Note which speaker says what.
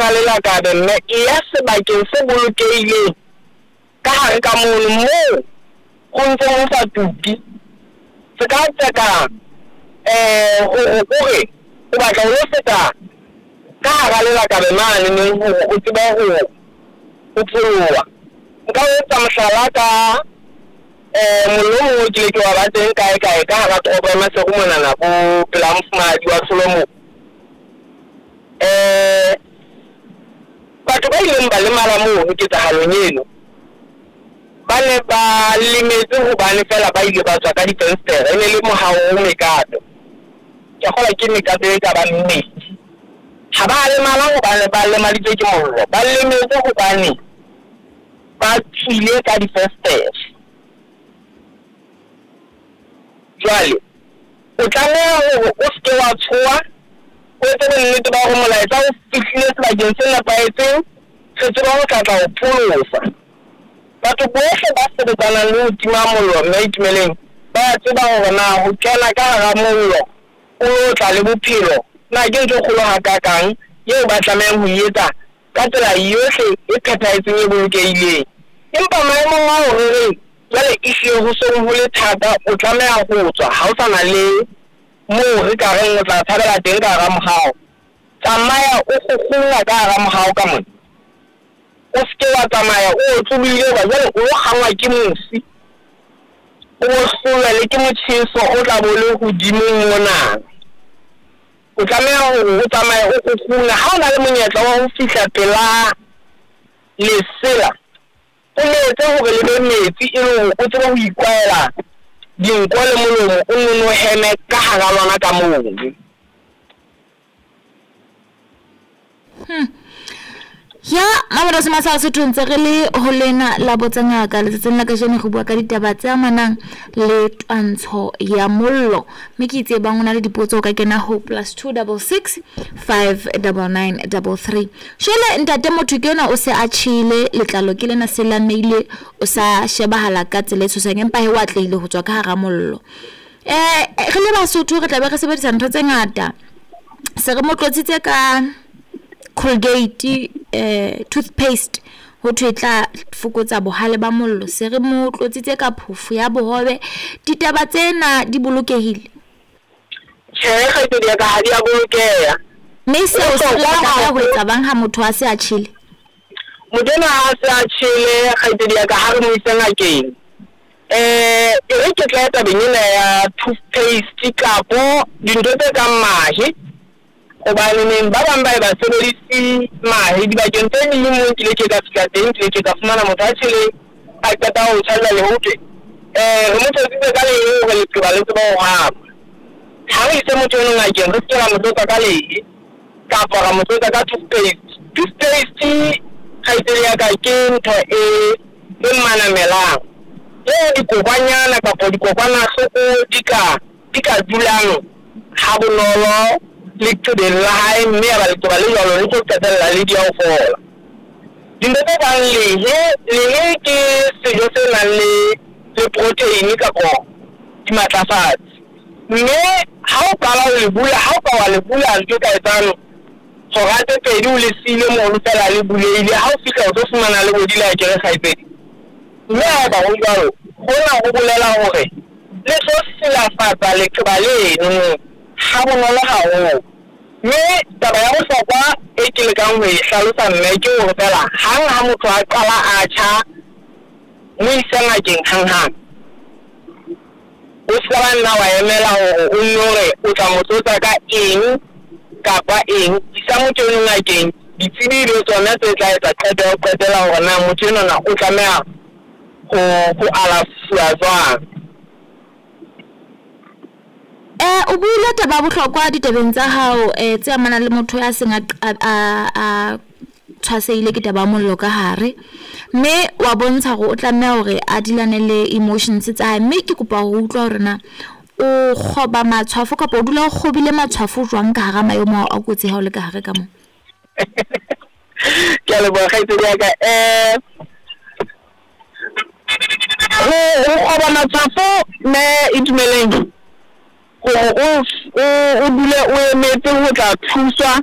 Speaker 1: hara lelakabe mme, e ya sebakeng se bolokehileng ka hare ka mono moo ho ntseng ho sa tuke. Se ka tseka hore o re o batla ho lo feta ka hara lelakabe mane neng hore o tsebe ho pholoha. Nka o etsa mohlala ka mollo o mong o kile ke wa ba teng kae kae ka hara toropo ya Maseru monana bo pela mofumahadi wa Tsholo moo. Batho ba ileng ba lemala mono ketsahalong eno ba ne ba lemetse hobane feela ba ile ba tswa ka difenstere. E ne le mohaho o mekato, ke a kgolwa ke mekato e ka bang mmedi. Ha ba lemala hobane ba lemaditswe ke mollo, ba lemetse hobane ba tswile ka difenstere. Jwale o tlameha hore o se ke wa tshoha, o etse bonnete ba hore molaetsa o fihlile sebakeng se nepahetseng, re tsebe ho tla tla ho pholosa. Batho bohle ba sebetsanang le ho tima mollo mme Itumeleng ba a tseba hore na ho kena ka hara mollo o lo tla le bophelo na ke ntho e kgolo hakakang eo ba tlamehang ho e etsa ka tsela yohle e phethahetseng e bolokehileng. Empa maemong ao re reng jwale ehlile ho seng ho le thata, o tlameha ho tswa, ha o sa na le moo re ka reng o tla tshabela teng ka hara mohao. Tsamaya o kgukgungwa ka hara mohao ka mona. O se ke wa tsamaya o otlolohile hoba jwale o lo kgangwa ke mosi, o bo hlolwe le ke motjheso o tla bo le hodimo mona. O tlameha hore o tsamaye o kgukguna. Ha o na le monyetla wa ho fihla pela lesela, o le etse hore le be metsi e le hore o tsebe ho ikwahela dinko le molomo, o nno heme ka hara lona ka mono.
Speaker 2: Ya Mamelodi Masao Sotho, ntse re le ho lena la botsa ngaka. Letsatsing la kajeno re bua ka ditaba tse amanang le twantsho ya mollo, mme ke itse bang o na le dipotso o ka kena ho +2 66 5 99 33. Jwale ntate, motho ke enwa o se a tjhele, letlalo ke lena se lameile, o sa shebahala ka tsela e tshosang, empa he o atlehile ho tswa ka hara mollo. Re le Basotho re tla be re sebedisa ntho tse ngata. Se re mo tlotsitse ka Colgate toothpaste, ho thwe e tla fokotsa bohale ba mollo. Se re mo tlotsitse ka phofo ya bohobe. Ditaba tsena di bolokehile?
Speaker 1: Tjhe, kgaitsedi ya ka, ha di a bolokeha.
Speaker 2: Mme seo se re tlameha ho etsa bang ha motho a se a tjhele?
Speaker 1: Motho enwa ha a se a tjhele, kgaitsedi ya ka, ha re mo ise ngakeng. E re ke tle tabeng ena ya toothpaste kapo dintho tse kang mahe, hobane neng ba bang ba e ba sebedise mahe dibakeng tse ding. Moo nkile ke ka fihla teng, ke ile ke ka fumana motho a tjheleng, a qeta ho tjha jwale ho thwe re mo tlotsitse ka lehe hore leqeba le tsebe ho hama. Ha re ise motho eno ngakeng, re se ke ra mo tlotsa ka lehe kapa ra mo tlotsa ka toothpaste. Toothpaste, kgaitsedi ya ka, ke ntho e e manamelang eo dikokwanyana kapa dikokwanahloko di ka dulang ha bonolo leqebeng la hae, mme ya ba leqeba le jwalo le tlo qetella le di ya ho fola. Dintho tse kang lehe, lehe ke sejo se nang le le protein kapo dimatlafatsi, mme ha o qala ho le bula, ha o ka wa le bula ntho e ka etsang hora tse pedi o le siile mono feela le bulehile, ha o fihla o tlo fumana le bodile akere, kgaitsedi. Mme haeba ho jwalo, hona ho bolela hore le tlo silafatsa leqeba leno ha bonolo haholo. Mme taba ya bohlokwa e ke lekang ho e hlalosa mme ke hore feela hang ha motho a qala a tjha, mo ise ngakeng hanghang. O se ka ba nna wa emela hore o nno re o tla mo tlotsa ka eng kapa eng. Isa motho eno ngakeng, ditsebi le tsona tse tla etsa qeto ya ho qetela hore na motho enwana o tlameha ho alafuwa jwang.
Speaker 2: O buile taba ya bohlokwa ditabeng tsa hao tse amanang le motho ya seng a tshwasehile ke taba ya mollo ka hare, mme wa bontsha hore o tlameha hore a dilane le emotions tsa hae. Mme ke kopa ho utlwa hore na o kgoba matshwafo kapa o dula o kgobile matshwafo jwang ka hara maemo ao a kotsi ha o le ka hare ka moo?
Speaker 1: Ke a leboha, kgaitsedi ya ka. Ho kgoba matshwafo mme Itumeleng, hore o dule o emetse ho tla thuswa.